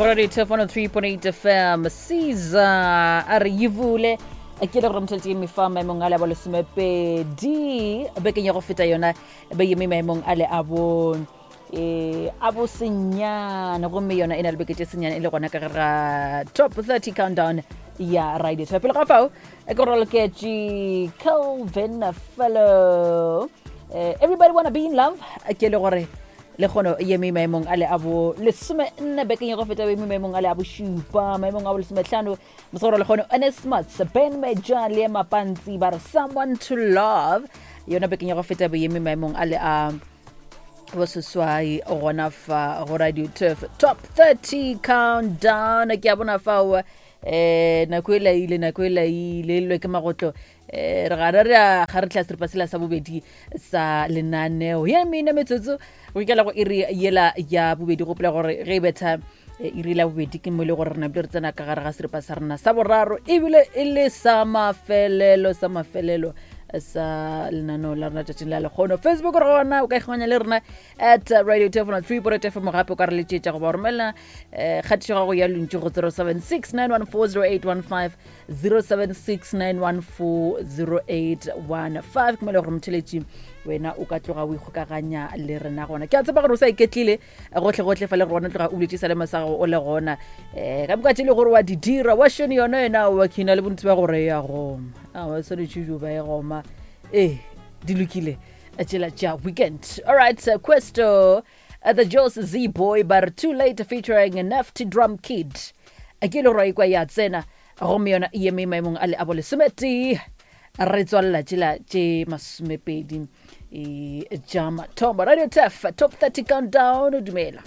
Go radio 3.8 FM Caesar a re yivule ke le gore motheletse eme fa maemong a le a bo lesomepedi bekeng ya go feta yona be eme maemong a le a bo e a bo senyane gomme yona e na le beke tše senyane e le gona ka gare ga top 30 countdown ya radio pele ga fao e ke roloketše Calvin Fellow eh, everybody wanna be in love ke le gore le kgono ye me maemong a le a bo lesome nne bekeng ya go feta be me maemong a le a bošupa maemong a bo lesometlhano mosegoro le kgono Onesmus Ben Meja le Mapantsi ba re someone to love yona bekeng ya go feta be ye me maemong a le a boseswai gona fa go radio turf top 30 countdown ke a bona fao eh nako e laile nako e laile e lwe ke magotlo eh re gana re a ga re tla seripa sela sa bobedi sa lenaneo ye mene metsotso go ikela go iri yela ya bobedi gopola gore ge e betha eh, iri la bobedi ke mo e le gore re napile re tsena ka gare ga seripa sa rena sa boraro ebile e le sa mafelelo sa mafelelo sa lenaneo la rena tšatšing la lekgono facebook re gona o ka ikganya le rena at radio telefono 3 point fm gape o ka re letšetša goba romela um kgatišo gago ya lontši go 076 914 0769140815 ke mo e le gore motheletši wena o ka tloga o ikgokaganya le rena gona ke a tseba gore o sa iketlile gotlhe-gotlhe fa le gore wena tloga o buletše sa le sa gago o le gona um ka moka tše le gore wa di dira wa šone yona yena wa khina le bontsi ba gore ya goma a wa swanetše jo ba e goma ee di lokile tšela tša weekend alright questo The Jos Z Boy ba re Too Late featuring Nefty Drum Kid. Ke le gore ikwa ya tsena gomme yona e eme maemong a le a bolesometee re tswalela tšela tše masomepedi e tša mathomo radio tef top 30 countdown dumela.